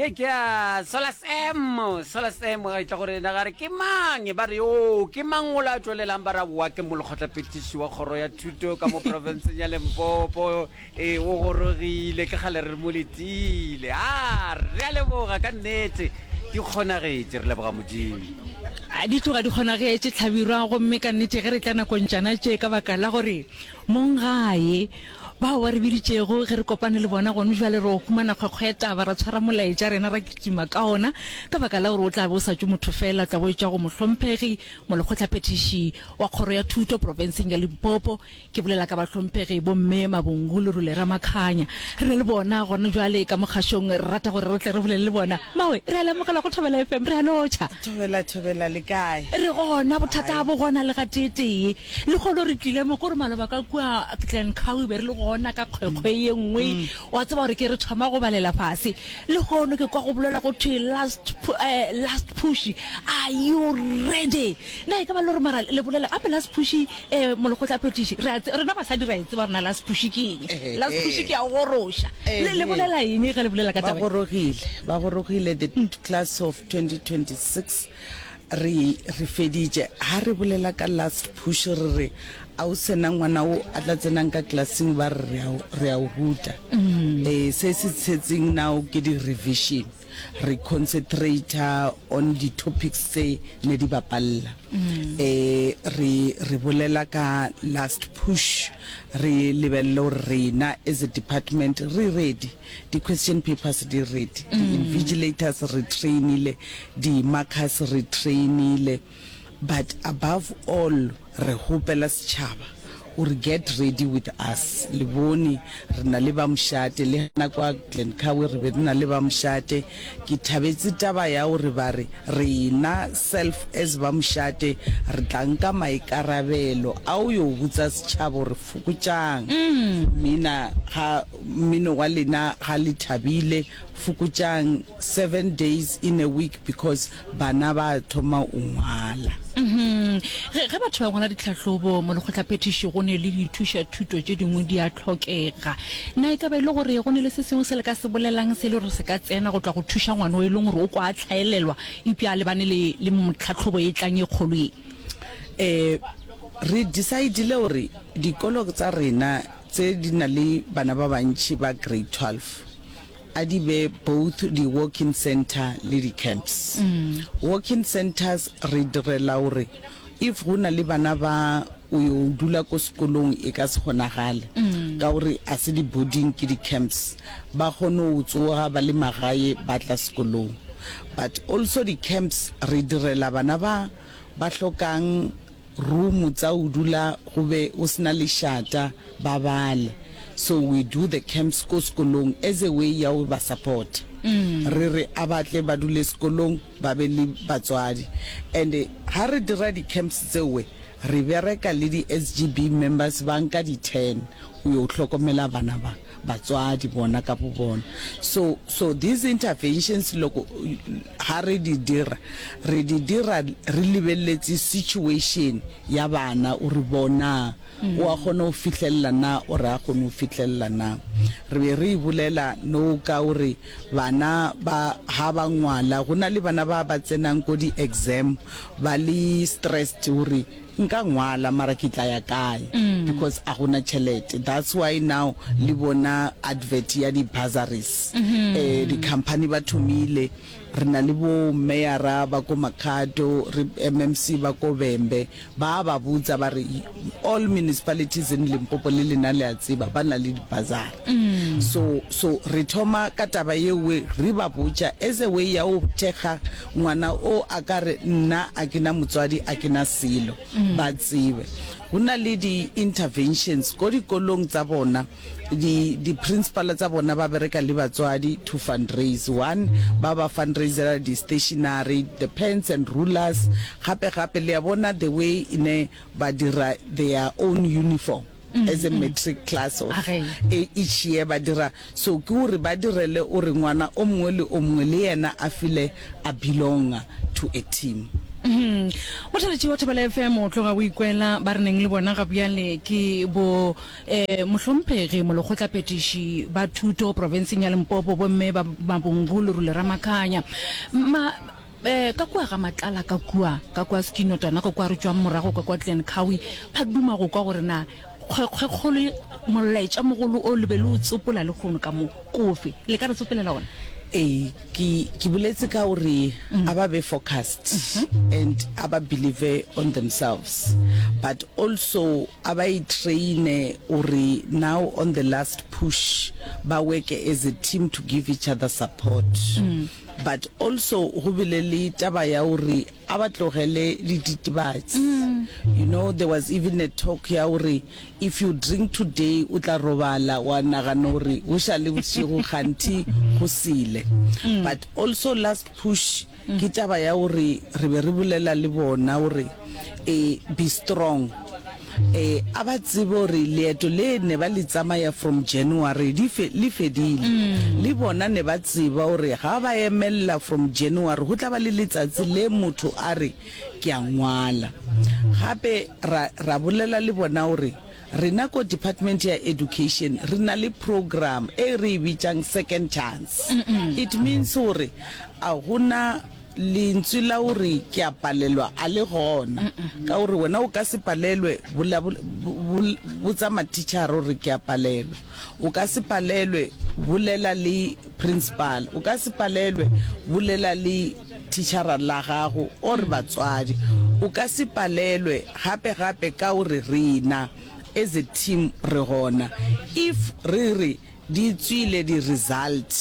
Ye ke ya Solas M, Solas M ga e tla go rena ga re ke mang ba re o ke mang o la tšwelelang ba ra boa ke molekgotlaphethiši wa kgoro ya thuto ka mo profenseng ya Limpopo e o gorogile ke kgale re mo letile a re a leboga ka nnete di kgonagetše re leboga Modimo. Di tloga di kgonagetše Hlabirwa gomme ka nnete ge re tla nakong tšana tše ka baka la gore Mong gae, bao ba re biditšego ge re kopane le bona gone bjale, re o humana kgwekgwe ya taba, ra tshwara molaetša rena ra kitima ka ona, ka baka la gore o tla be o sa tšwe motho fela, o tla be o etšwa go Mohlomphegi Molekgotlaphethiši wa Kgoro ya Thuto profenseng ya Limpopo. Ke bolela ka Bahlomphegi Bomme Mabungu Lerule Ramakhanya. Re na le bona gona bjale ka mo kgašong, re rata gore re tle re bolele le bona. Mawe, re a le amogela go Thobela FM, re a lotšha. Thobela, thobela, le kae? Re gona, bothata ga bo gona le gateetee. Lehono re tlile mo, kore maloba ka kua Glencoe be re le gona ka kgwekgwe ye nngwe. Wa tseba gore ke re thoma go balela fase. Lehono ke kwa go bolelwa go thwe last, eh, last push. Are you ready? Na e ka ba le gore mara le bolela gape last push, eh, molekgotlaphethiši? Re a tse, rena basadi re a e tseba gore na last push ke eng. Last push ke ya go goroša. Le, le bolela eng ge le bolela ka Ba taba ye? gorogile, ba gorogile the class of 2026. Re, re feditše. Ha re bolela ka last push re re a o sena ngwana o a tla tsenang ka klaseng ba re re a, re a o ruta. Eh, se se tshetseng now ke di revision. Re concentrator on di topics tse ne di bapalla. Eh, re, re bolela ka last push re lebelele gore rena as a department re ready. Di question papers di ready, di invigilators re trainile, di markers re trainile, but above all re hopela setšhaba gore get ready with us. Le bone re na le ba mošate, le gana kwa Glencoe re be re na le ba mošate. Ke thabetse taba ya gore ba re rena self as ba mošate re tla nka maikarabelo a o yo botsa setšhaba gore fokotšang mina ga Mmino wa lena ga le thabile fokotšang seven days in a week because bana ba thoma o ngwala. Ge, ge batho ba ngwala ditlhahlobo mo lekgotlaphethiši go ne le dithušathuto tše dingwe di a hlokega. Na e ka ba e le gore go ne le se sengwe se le ka se bolelang se e le gore se ka tsena go tla go thuša ngwana o e leng gore o kwa a hlaelelwa eupša a lebane le, le tlhahlobo e tlang e kgolo ye? Eh, re decide-ile gore dikolo tsa rena Tse di na le bana ba bantši ba grade 12 a di be both di walk-in centre le di camps. Walk-in centres re direla gore if go na le bana ba o yo dula ko sekolong e ka se kgonagale ka gore a se di boarding ke di camps ba kgone go tsoga ba le magae ba tla sekolong. But also di camps re direla bana ba ba hlokang room tsa o dula go be o sena lešata ba bale so we do the camps ko sekolong as a way ya go ba support re re a ba tle ba dule sekolong ba be le batswadi and ha re dira di camps tseowe re bereka le di SGB members ba nka di turn go yo hlokomela bana ba. Batswadi bona ka bo bona. So, so these interventions loko ha re di dira, re di dira re lebeletse situation ya bana o re bona o a kgona go fihlelela na or a kgone go fihlelela na. Re be re e bolela no ka gore bana ba ha ba ngwala, go na le bana ba ba tsenang ko di exam ba le stressed gore Nka ngwala mara ke tla ya kae because a gona tšhelete that's why now le bona advert ya di bursaries eh di company ba thomile re na le bo meyara ba ko Makhado re MMC ba ko Vhembe ba ba botsa ba re all municipalities in Limpopo le lena le a tseba ba na le di bursary so so re thoma ka taba yewe re ba botša as a way ya go thekga Ngwana o a ka re, Nna a ke na motswadi, a ke na selo. Ba tsebe. Go na le di-interventions ko dikolong tsa bona, di, di-principal tsa bona ba bereka le batswadi to fundraise. One, ba ba fundraisela di-stationery, the pens and rulers. Gape gape, le a bona the way ne ba dira their own uniform. as a matric class of e each year ba dira so ke gore ba direle o re ngwana o mongwe le o mongwe le yena a feel a belonga to a team. Motheletši wa Thobela FM o tloga o ikwela ba re neng le bona ga bjale ke bo eh, mohlomphegi molekgotlaphethiši ba thuto profenseng ya Limpopo bomme ba Mabungu Lerule Ramakhanya. Ma eh, ka kua ga Matlala ka kua ka kua Skinotwana ka kua re tšwang morago ka kua Glen Cowie ba duma go kwa gore na kgwekgwekgolo molaetša mogolo o le be le o tsopola lehono ka mo kofe le ka re tsopolela ona? Ee, ke, ke boletse ka gore a ba be focused and a ba believe on themselves but also a ba itraine gore now on the last push ba worke as a team to give each other support. But also go bile le taba ya gore a ba tlogele dititibatsi. You know there was even a talk ya gore if you drink today o tla robala wa nagana gore go šale bošego kganthi go sele. But also last push ke taba ya gore re be re bolela le bona gore eh be strong. Eh a ba tsebe gore leeto le ne ba le tsamaya from January di fe le fedile. Le bona ne ba tseba gore ga ba emella from January go tla ba le letsatsi le motho a re ke a ngwala. Gape ra ra bolela le bona gore rena ko Department ya Education re na le program e re e bitšang second chance. It means gore a gona Lentswe la go re ke a palelwa a le gona, ka gore wena o ka se palelwe, botsa matitšhara gore ke a palelwa. O ka se palelwe, bolela le principal. O ka se palelwe, bolela le titšhara la gago or batswadi. O ka se palelwe gape gape ka gore rena as a team re gona. If re re Di tswile di result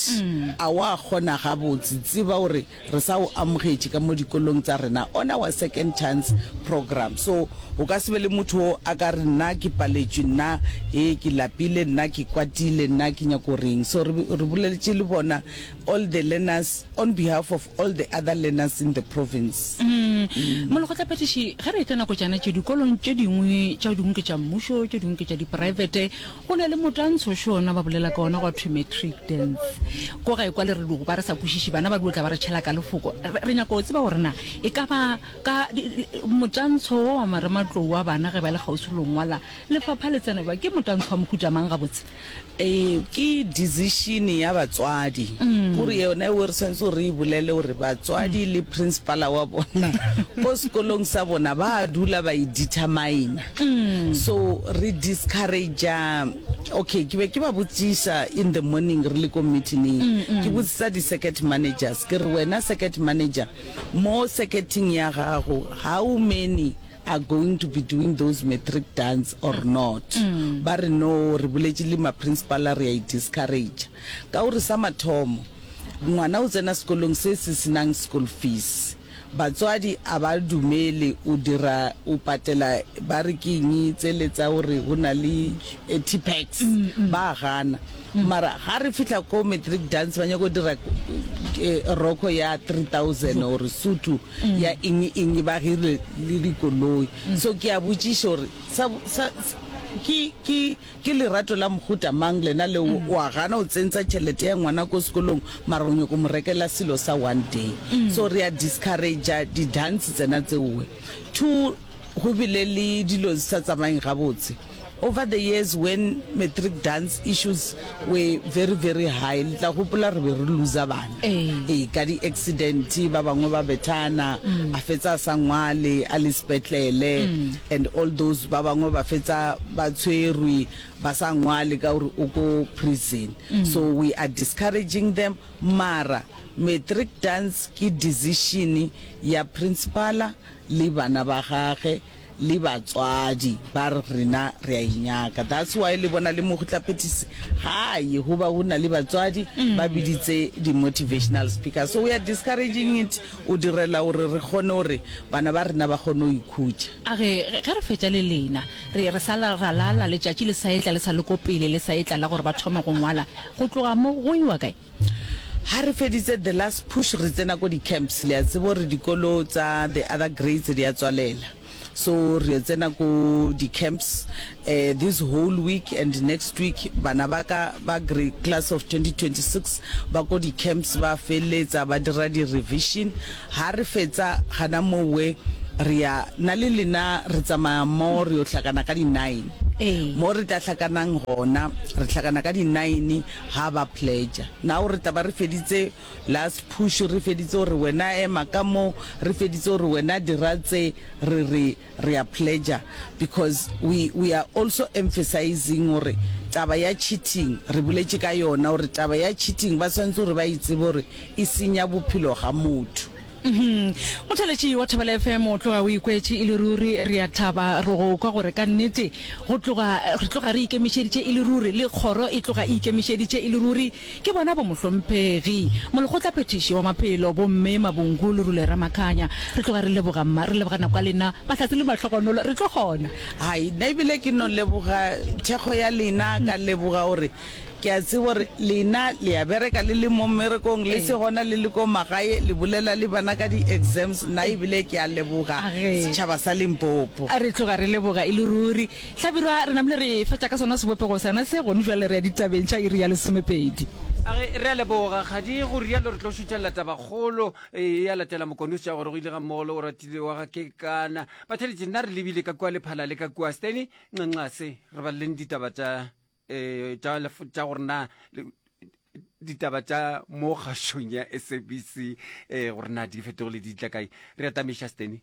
a wa kgona gabotse tseba gore re sa o amogetše ka mo dikolong tsa rena on our second chance program so o ka se be le motho o a ka re nna ke paletšwe nna he ke lapile nna ke kwatile nna ke nyako reng so re re boleletše le bona all the learners on behalf of all the other learners in the province. Molekgotlaphethiši, ge re etla nako tšana tše dikolong tše dingwe tša dingwe ke tša mmušo tše dingwe ke tša dipraebete Go na le motantsho xona ba bolela ka ona gwa thwe matric dance. Ko gae kwa le re dugo ba re sa kwešiše bana ba duo tla ba re tšhela ka lefoko. Re nyaka go tseba gore na e ka ba ka motantsho wo wa marematlou wa bana ge ba le kgauswi le go ngwala lefapha le tsena bjang? Ke motantsho wa mohuta mang gabotse? Ee, ke decision ya batswadi. Kore yona eo re swanetse gore re e bolele gore batswadi le principala wa bona ko sekolong sa bona ba dula ba e determine. So re discourage-a, okay ke be ke ba botšiša in the morning re le ko meeting-eng, ke botsisa di-circuit managers ke re wena circuit manager mo circuit-ing ya gago how many are going to be doing those matric dance or not? Ba re no re boletše le ma-principal re a e discourage-a ka gore sa mathomo ngwana o tsena sekolong se se senang school fees. Batswadi a ba dumele o dira o patela ba re ke eng tsele tsa gore go na le T-pax ba gana mara ga re fihla ko matric dance ba nyako dira roko ya 3000 or sutu ya eng eng ba hirile le dikoloi so ke a botšiša gore sa sa ke ke Ke lerato la mohuta mang lena leo o a gana o tsentsa tšhelete ya ngwana ko sekolong mara o nyoko mo rekela selo sa one day. So re a discouragea di dance tsena tseowe. Two go bile le dilo di sa tsamayeng gabotse over the years when matric dance issues were very very high le tla gopola re be re loser bana ee ka di accident ba bangwe ba bethana a fetsa a sa ngwale a le sepetlele and all those ba bangwe ba fetsa ba tshwerwe ba sa ngwale ka gore o ko prison so we are discouraging them mara matric dance ke decision ya principala le bana ba gage le batswadi ba re rena re a e nyaka that's why le bona le mogotlaphetisi ga ye go ba go na le batswadi ba biditse di motivational speakers so we are discouraging it o direla gore re kgone gore bana ba rena ba kgone go ikhutša. A re, Ge re fetša le lena, re, re sa la, ra lala, letšatši le sa etla, le sa le ko pele, le sa etla la gore ba thome go ngwala. Go tloga mo, go iwa kae? Ha re feditse the last push, re tsena ko di-camps. Le a tseba gore dikolo tsa the other grades di a tswalela. So re yo tsena ko di camps eh this whole week and next week bana ba ka ba grade class of 2026 ba ko di camps ba feleletsa ba dira di revision. Ha re fetsa gana mowe re ya nna le lena re tsamaya mo re yo hlakana ka di nine. Ee. Mo re tla hlakanang gona re hlakana ka di nine ha ba pledger. Now re tla ba re feditse Last push re feditse gore wena ema ka mo, re feditse gore wena dira tse, re re re a pledger because we we are also emphasizing gore taba ya cheating re boletše ka yona gore taba ya cheating ba swanetše gore ba e tsebe gore e senya bophelo ga motho. Motheeletši wa Thobela FM o tloga o ikwetše e le ruri. Re a thaba re go kwa gore ka nnete go tloga re tloga re ikemišeditše e le ruri le kgoro e tloga e ikemišeditše e le ruri. Ke bona bomohlomphegi, Molekgotlaphethiši wa Maphelo, Bomme Mabungu Lerule Ramakhanya. Re tloga re leboga mma, re leboga nako ya lena, mahlatse le mahlogonolo, re tlo kgona. Hai, nna ebile ke no leboga thekgo ya lena, ka leboga gore ke a tseba gore lena le a bereka le le mo mmerekong, le se gona le le ko magae, le bolela le bana ka di-exams, nna ebile ke a leboga setšhaba sa Limpopo. Re tloga re leboga e le ruri. Hlabirwa, re namile re fetša ka sona sebopego sona se, gone bjale re ya ditabeng tša iri ya lesomepedi. A re, Re a leboga, Kgadi, go rialo re tlo šuthelela tabakgolo e ya latela Mokone o setša gore go ile ga mmogo le Oratile wa ga Kekana. Batheeletši, nna re lebile ka kua Lephala le ka kua Steny Nxanxase, re baleleng ditaba tša um tša tša gore na ditaba tša mo kgašong ya SABC um gore na di fetogile di tla kae. Re atamiša Steny.